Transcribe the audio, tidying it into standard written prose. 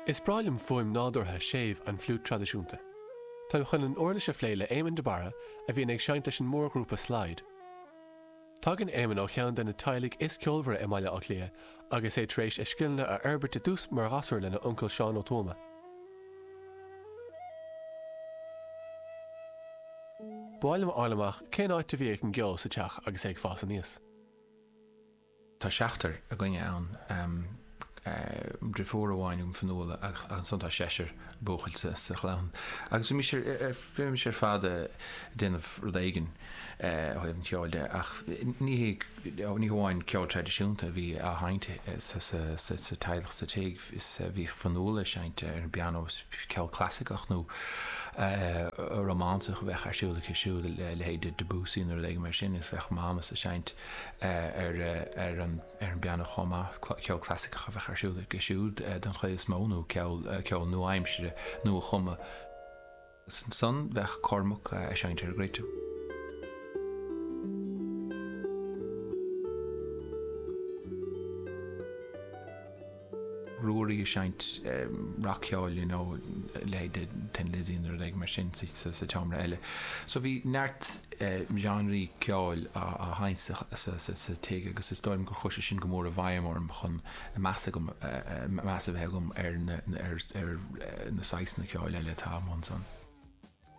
Is breá liom fuaim nádúrtha séimh an fliúit traidisiúnta. Táim chun an uirlis a phlé le Éamonn de Barra a bhíonn ag seinnt leis an mórghrúpa Slide. Tagann Éamonn ó cheann de na teaghlaigh is ceolmhaire i mBaile Átha Cliath agus é tar éis a scileanna a fhorbairt i dtús mar ghasúr lena uncail Seán Ó Tuama. Ba mhaith liom a fháil amach cén áit a bhí ag an gceol sa teach agus é ag fás aníos. Tá seachtar againne ann, deirfiúr amháin agam, Fionnuala, agus ansan tá seisear buachaill sa chlann. Agus bhímis ar, bhímis ar fad ag déanamh rud éigin ó thaobh an cheoil de ach ní hé, ní hamháin ceol traidisiúnta a bhí á sheinnt sa teaghlach sa tigh, is bhíodh Fionnuala ag seinnt ar an bpianó, ceol clasaiceach nó rómánsach a bheadh ar siúl aici siúd, a leithéid de Debussy nó rud éigin mar sin, is bheadh Mámas ag seinnt ar an bpianó chomh maith, ceol clasaiceach a bheadh ar siúl aici siúd den chuid is mó, nó ceol nua-aimsire, nua-chumtha. Agus ansan bheadh Cormac ag seinnt ar an gcruit. Ruairí ag seinnt rac-cheoil, you know, a leithéid de Thin Lizzy nó rud éigin mar sin sa tseomra eile. So bhí neart genreí ceoil á sheinnt sa tigh agus is dóigh liom gur chuir sé sin go mór i bhfeidhm orm chun meas agam, meas a bheith agam ar na, ar na saghsanna ceoil eile atá amuigh ansan.